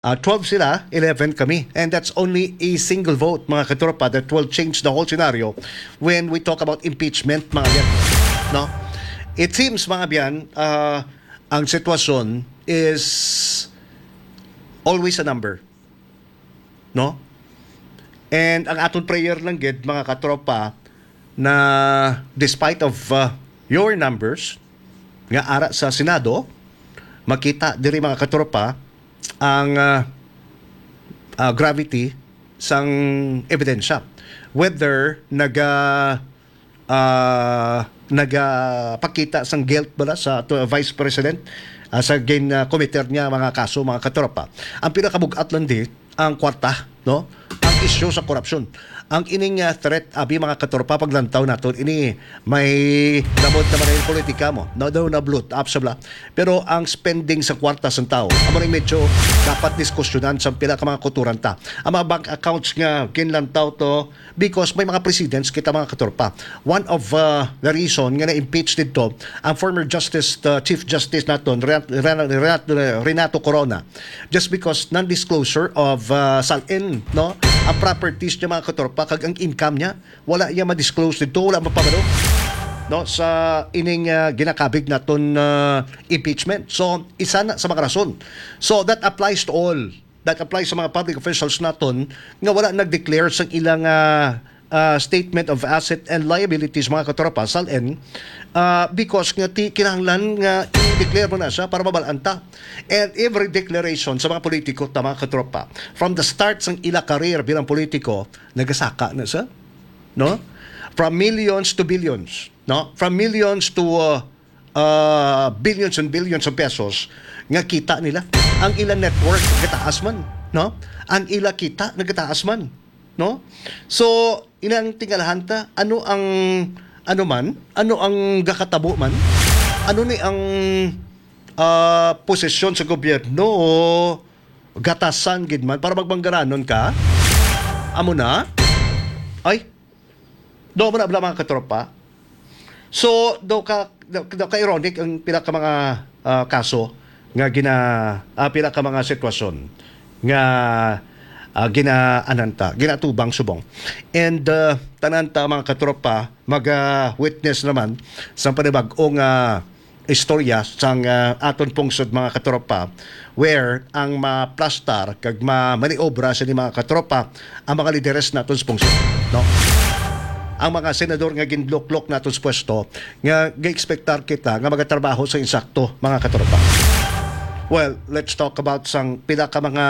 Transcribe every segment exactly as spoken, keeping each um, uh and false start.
Ah, twelve sila, eleven kami. And that's only a single vote, mga katropa, that will change the whole scenario when we talk about impeachment, mga yan. No? It seems, mga biyan, ah, ang sitwasyon is always a number. No? And ang aton prayer lang gid, mga katropa, na despite of, uh, your numbers, nga ara sa Senado, makita diri, mga katropa, ang, uh, uh, gravity sang ebidensya. Whether naga, uh, nagapakita sang guilt bala sa to, Vice President, uh, sa gin, uh, committer niya mga kaso, mga katropa. Ang pinakabug-at lang di, ang kwarta, no? Ang isyu sa korupsyon. Ang ining, ah, threat, abi, mga katropa, paglantaw naton, ini may damot naman ang politika mo. No, no, na bloat up sa bla. Pero ang spending sa kwarta sang tao, amo ning medyo dapat diskusyonan sa pila ka mga kuturan ta. Ang mga bank accounts nga ginlantaw to, because may mga precedents kita, mga katropa. One of, uh, the reason nga na-impeach dito ang former Justice, uh, Chief Justice naton, Renat-, Renat-, Renat-, Renato Corona, just because non-disclosure of, uh, SALN, no? Ang properties niya, mga katropa, kag ang income niya, wala niya ma-disclose dito, wala mapabalo, no, sa ining, uh, ginakabig naton, uh, impeachment. So, isa na sa mga rason. So, that applies to all. That applies sa mga public officials naton nga wala nag-declare sa ilang, ah, ah, statement of asset and liabilities, mga katropa, SALN, ah, because nga ti kinahanglan nga i-declare mo na siya para mabalaan ta. And every declaration sa mga politiko ta, mga katropa, from the start sang ila career bilang politiko, nagasaka na siya, no? From millions to billions, no? From millions to, uh, uh, billions and billions of pesos nga kita nila. Ang ila net worth nagataas man, no? Ang ila kita nagataas man, no? So, inang tingalahan ta, ano ang, ano man, ano ang gakatabo man, ano ni ang, ah, posisyon sa gobyerno o gatasan gid man para magmanggaranon ka? Amo na? Ay, do mo na bala, mga katropa. So, do ka, do, do ka ironic ang pila ka mga, ah, kaso nga gina, ah, pila ka mga sitwasyon nga, ah, ginaanan ta, ginatubang subong. And, ah, tanan ta, mga katropa, mag, ah, witness naman sa panibag-ong, ah, istorya sang, ah, aton pungsod, mga katropa, where ang maplastar kag ma-, maniobra sini, mga katropa, ang mga lideres naton sa pungsod, no? Ang mga senador nga ginluklok naton sa pwesto nga ga-expectar kita nga magatrabaho sa insakto, mga katropa. Well, let's talk about sang pila ka mga,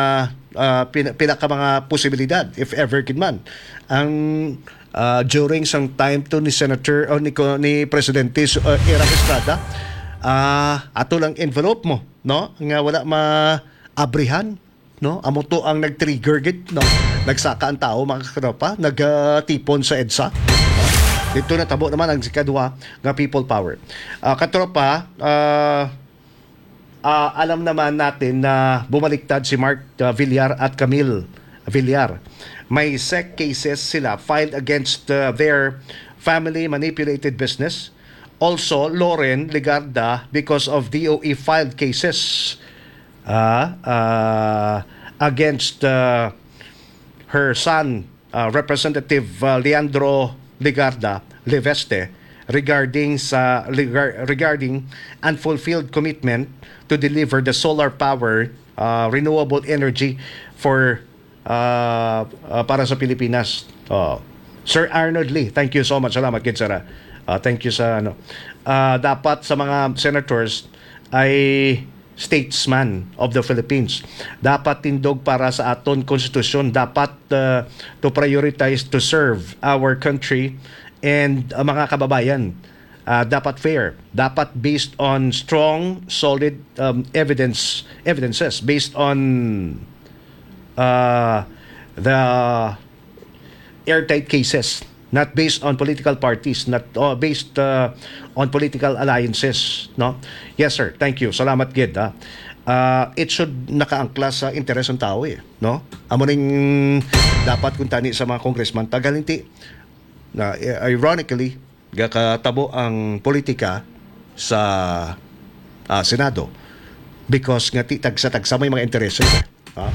ah, pila, pila ka mga posibilidad, if ever gid man, ang, ah, during sang time to ni Senator o ni ko-, ni Presidente, uh, Erap Estrada, ah, ato lang envelope mo, no? Nga wala maabrihan, no? Amo to ang nag-trigger gid, no? Nagsaka ang tao, mga katropa, nagtipon sa EDSA. Dito natabo naman ang ikadua nga people power. Ah, katropa, ah, ah, alam naman natin na bumaliktad si Mark, ah, Villar at Camille Villar. May SEC cases sila filed against, ah, their family manipulated business. Also, Loren Legarda because of D O E filed cases, ah, ah, against, ah, her son, uh, Representative, uh, Leandro Legarda Leveste regarding sa, regar-, regarding unfulfilled commitment to deliver the solar power, uh, renewable energy for, uh, uh, para sa Pilipinas. Oh. Sir Arnold Lee, thank you so much. Salamat gid, sir, ah. Uh, thank you sa, ano. Uh, dapat sa mga senators ay statesman of the Philippines. Dapat tindog para sa aton konstitusyon. Dapat, uh, to prioritize to serve our country and, uh, mga kababayan. Uh, dapat fair. Dapat based on strong, solid, um, evidence, evidences, based on, uh, the airtight cases, not based on political parties, not, uh, based, uh, on political alliances, no? Yes, sir. Thank you. Salamat gid, ha. Uh, it should nakaangkla sa interes ng tao, eh, no? Amo ning dapat kuntani sa mga congressman. Tagalinti na, eh, ironically, gakatabo ang politika sa, ah, Senado because nga ti-, tagsa-tagsa may mga intereses, eh. Ha?